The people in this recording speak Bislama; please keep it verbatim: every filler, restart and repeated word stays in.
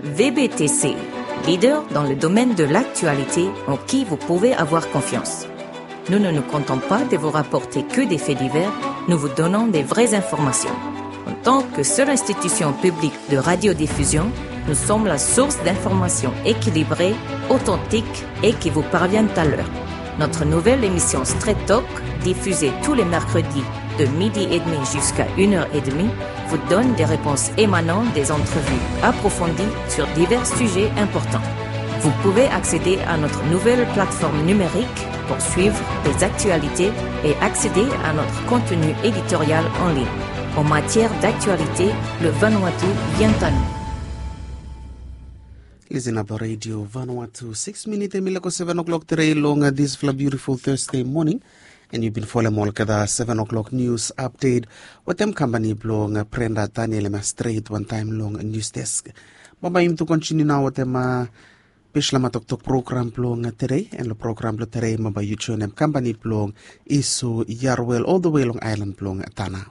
V B T C, leader dans le domaine de l'actualité en qui vous pouvez avoir confiance. Nous ne nous contentons pas de vous rapporter que des faits divers, nous vous donnons des vraies informations. En tant que seule institution publique de radiodiffusion, nous sommes la source d'informations équilibrées, authentiques et qui vous parviennent à l'heure. Notre nouvelle émission Straight Talk, diffusée tous les mercredis de midi et demi jusqu'à une heure et demie, vous donne des réponses émanant des entrevues approfondies sur divers sujets importants. Vous pouvez accéder à notre nouvelle plateforme numérique pour suivre les actualités et accéder à notre contenu éditorial en ligne. En matière d'actualité, le Vanuatu vient à nous. Listen up Radio Vanuatu. Six minute hemi laek go seven o'clock tere long, uh, disfala beautiful Thursday morning. And you've been following olgeta seven o'clock news update wetem kampani blong, uh, Brenda Daniel hemi stret wantaem long news desk. Bambae yumi tu kontiniu nao wetem, uh, Bislama Toktok program blong, uh, tere. And long program blong tere bambae yu joenem kampani blong Iso Yarwel all the way long aelan blong Tanna.